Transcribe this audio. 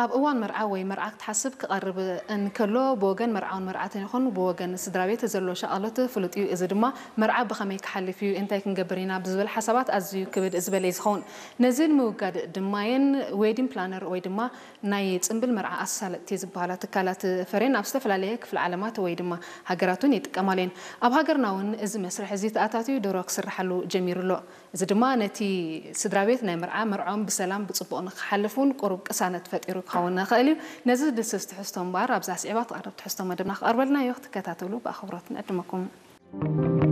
ኣብ እዋን መርዓ ወይ መርዓ ክትሓስብ ክቐርብ እንከሎ ብወገን መርዓውን መርዓትን ይኹን ብወገን ስድራ ቤት ዘሎ ሻቕሎት ፍሉጥ እዩ። እዚ ድማ መርዓ ብኸመይ ክሓልፍ እዩ፣ እንታይ ክንገብር ኢና ብዝብል ሓሳባት ኣዝዩ ክብድ ዝበለ እዩ ዝኸውን። ነዚ ንምውጋድ ድማየን ዌዲንግ ፕላነር ወይ ድማ ናይ ጽንብል መርዓ ኣሳለጥቲ ዝበሃላ ትካላት ፈሬን ኣብ ዝተፈላለየ ክፍለ ዓለማት ወይ ድማ ሃገራት እውን ይጥቀማሉ እየን። ኣብ ሃገርና እውን እዚ መስርሕ እዚ ተኣታትዩ ድሮ ክስርሓሉ ጀሚሩ ኣሎ። እዚ ድማ ነቲ ስድራ ቤት ናይ መርዓ መርዖም ብሰላም ብጽቡቕ ንክሓልፍ እውን ቁሩብ ቅሳነት ፈጢሩ ክኸውን ይኽእል እዩ። ነዚ ዝድስስ ትሕዝቶ እምበኣር ኣብዛ ስዒባ ትቐርብ ትሕዝቶ መደብና ክቐርበልና እዩ። ክትከታተሉ ብኣኽብሮት ንዕድመኩም።